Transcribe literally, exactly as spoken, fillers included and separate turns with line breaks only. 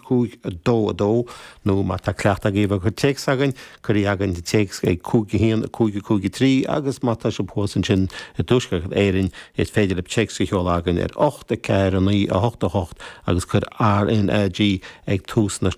cúig a dó a dó nó má tá cleachtadh agaibh ag cur téacs chugainn, cuir chugainn téacs ag cúig a haon cúig cúig trí agus má tá sibh thuas ansin i dTuaisceart Éireann is féidir libh téacs a sheoladh chugainn ar ocht a ceathair a naoi a hocht a hocht agus cuir RNAG ag tús na